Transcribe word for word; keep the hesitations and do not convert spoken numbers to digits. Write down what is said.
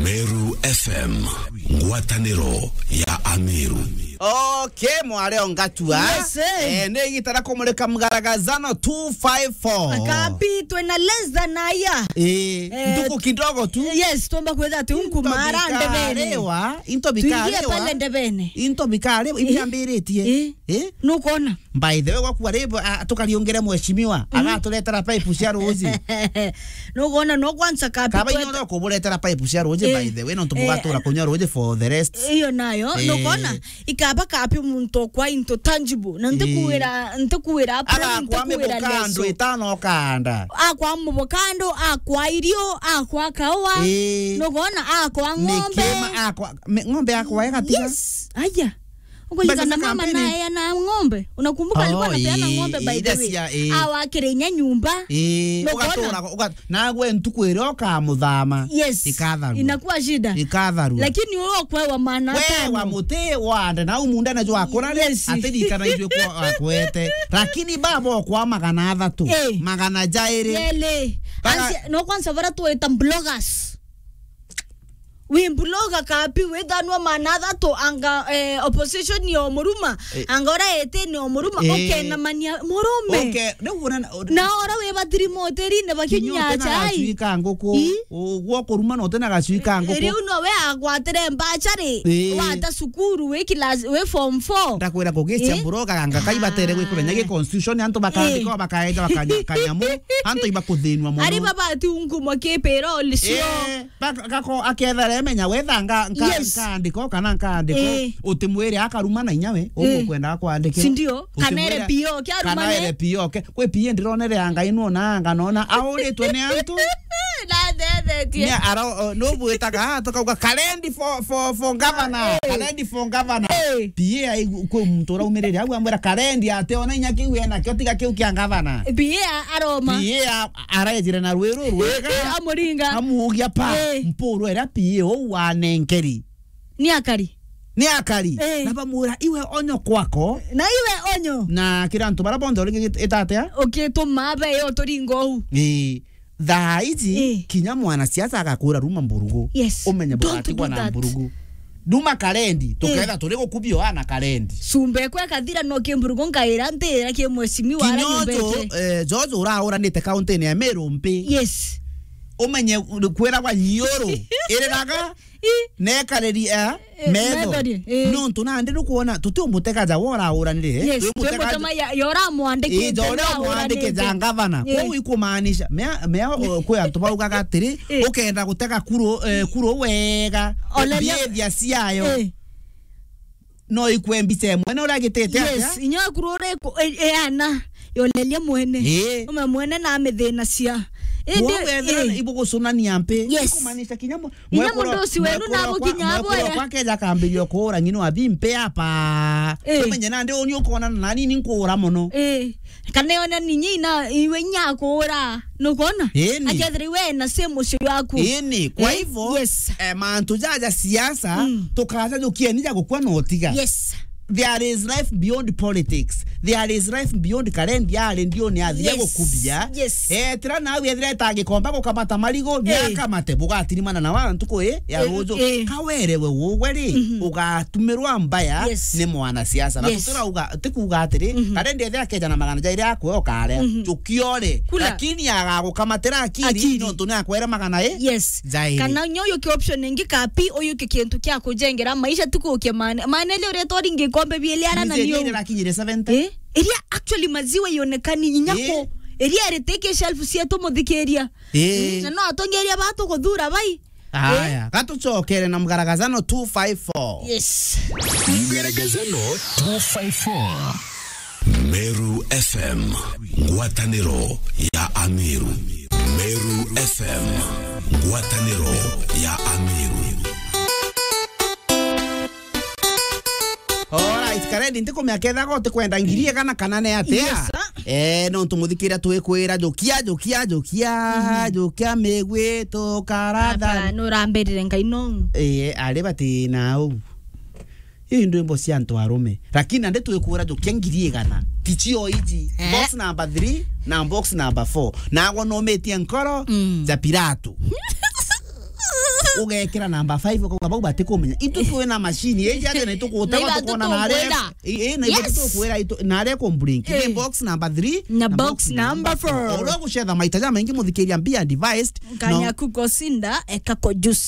Meru F M, ngwataniro ya Ameru. Okay, mware o ngatua. Yes, eh. Eh, ni igita ria kumurika mgaragazano two five four. Kapi, twina less than a year. Eh, eh, ntuku kidogo tu. Yes, tuomba kwitha ati unkumara ndebene. Into bikariwa, into bikariwa. Tuingie pale ndebene. Into bikariwa, eh, ibiambiritie. Eh. Eh? Nukona? By the way, gwaku ari, a, tukariungire mheshimiwa, mhm, agaturetera pipe cia ruuji. Nugona no kwanza kapi. Kaba kweta- inyuothe ukuburetera pipe cia ruuji, eh, by the way, nontu, eh, mugatura kunywa ruuji for the rest. Iyo nayo, eh, nugona? Ikaba kapi muntu okwa into tangible. Na, eh, ntikuwira, ntikuwira apron, agakwa ntikuwira mibukando leso. Itano kanda. Akwa mubukando, akwa irio, akwa kaua. Eh. Nugona? Akwa ng'ombe. Nikima, akwa, me-, ng'ombe akwa egatiga. Yes. Aya. Ukaigana mama naye na ng'ombe. Unakumbuka alikuwa anapeana ng'ombe, by the way? Awa akire inya nyumba. Ii, nugona? Ugatura, uga-, nagwe ntuku iria ukamuthama, yes, ikatharua. Inakuwa shida. Ikatharua. Lakini wewe okwewa maana atano. Wewa muti wande, na umunda na jwa kurare, yes, atirikana ijwe kwa akwete. Lakini baba okwa magana athatu, eh, magana jairi. Yele. Baga- Ansi-, no kwanza bara tuwita bloggers. Wi bloga kapi, withanwa maana athatu anga, eh, opposition yo muruma, eh, anga ora etene o muruma, eh, ukenamania murume. Uke-, riu una-, na ora wi batiri moterine bakinyia chai. Kinya utina gacui ka nguku, ii, u-, gwo kuruma na utina gacui ka nguku. Riu no we agwatire mbachari, ii, wata cukuru, wi class, wi form four. Ndakwira kugicia, ii, bloga anga kaibatere gwikura nyagi constitution, antu bakandika, ii, bakaeja bakanya-, kanyamu, antu ibakuthinwa muno. Ari babati unkumwa kipira olisio. Ii. Ba-, gako-, akethera emenya wetha nga-, nka-, yes, nkandiko kana nkandiko, eh, utimwire akaruma na inya we, eh, ukwenda akwandikira. Si ndio? Kana ere utimwire, P O ke arumane. Kana ere P O ke. Kwi P A ndironere anga ino na anga nona auritwe ni antu. Na ndethetie. Ni aro-, o, nubwitaga, ah, tukauga, "Karendi for, for, for governor. Eh. Karendi for governor." Eh. P A ai-, kwi muntu uraumirire au amwira, "Karendi ate ona inya kiu ena kio tiga kiu kia governor." P A aroma. P A a-, arejire na rwiru rwega. Amuringa. Amuugia pa. Eh. Mpuru iria P A uu wanenkeri. Ni akari. Ni akari. Eh. Na bamwira, "Iwe onyo kwako." Na iwe onyo. Na kira antu bara bonthe uringi git-, itatea? Ukituma be yo turingo uu. Ii. Thaa iji, eh, kinya mwanasiasa agakura ruma mburugu. Yes. Umenye bugatigwa na mburugu. Don't do that. Nduma Karendi, eh, tuketha turi gukubio ana Karendi. Cumbe kwe kathira no kimburugu nkaira ntira ki mheshimiwa ara nyumbete. Kinya uju, eh, George urauranite kaunti-ini ya Meru mpi. Yes. Umenye kwiragwa nyiuru iriraga, i, nekariri, eh, eh, metho. Metho ri, eh. Nontu nandi nukwona tutiumutega ja we urauranire. Yes, twimutega twimutema ya, ya uramwandikite, ii, ja uria umwandikite ja ngavana. Eh. Kwou ikumaanisha, mea, mea, o, kwi antu baugaga atiri, eh, ukenda gutega kuru, eh, kuru wega, behavior ciayo. Eh. No ikwe mbica imwe na uria agitite atia? Yes, inya kuru uri ku-, e-, eana, yoleria mwene. Ii. Ume mwene na amithinacia. Indi, kwou wethira, ii, ibugucunania mpi? Yes. Ikumaanisha kinya mu-, inya mwekuru, mundu ucio wenu mwekuru na okwa, abukinya mwekuru aboya. Okwa akeja akambiria kuura ng'ino abi mpi apa. Ii. Umenye nandi uni ukonana nani ni nkuura mono. Ii. Kana yona ninyi ina iwe inya akuura. Nukwona? Ii ni. Akethira iwe na same ucio waku. Ii ni. Kwa, ii, hivyo, yes, eh, mantu jaja siasa, mm, tukaja jukieni ja gukua na utiga. Yes. There is life beyond politics. There is life beyond Karendi ari ndioni athire, yes, gukubia. Yes. Eh, tira nawe ethira etangikomba gukamata marigu, eh, niakamate, bugatirimana na wa ntuku ii ya, eh, ruju. Eh. Kawerewe ugwe ri, mhm, ugatumirwa mbaya, yes, ni mwanasiasa. Na, yes, tutirauga, tikuuga atiri, mhm, Karendi ethira akeja na magana jairi akwe ukare, mhm, jukiore. Kula. Lakini agagukamatira akiri, akiri, nontu ni akwere magana i, yes, jairi. Kana nyo yuki option ingi kapi, uyuki kintu kia kujengera maisha, tikuukia mane. Mane ile uretwa ringi kombe biele ara na niu. Irakinyire seventy. Eh? Iria actually maziwa ionekani inya, eh, ku. Iria iritike shelf cietu muthikiria. Eh. Mm, na no atongeria batu kuthura bai. Aya, eh, gatucokere na mgaragazano two five four. Yes. Mgaragazano two five four. Meru F M, ngwataniro ya Ameru. Meru F M, ngwataniro ya Ameru. Alright, Karendi, ntikumenya kethaga utikwenda ngiri igana kana ni atia? Yes, sir. Eh, nontu muthikiria twikwira jukia, jukia, jukia, mhm, jukia migwi tukaratha. Papa, nurambirire Ngai no. Eh, ari bati na u. Ii ndwimbo cia antu arume. Lakini nandi twikwira jukia ngiri igana. Ti cio iji. Eh. Box number three na box number four. Nagwo numitie nkoro, mm, ja Pilato. ugekira namba five, ukauga, "Bau batikumenya." Itu twina machine, iji aja na itukuutega, na itha tukona na aria, tutukwira. I, i, na itha Yes. tutukwira, itu, na aria kumbring. Eh. Ni box number three, Na na box box number number four. Uria gucetha maita jamaingi, muthikiria, be advised. No. Kanyaku Kosinda, eka kujusa.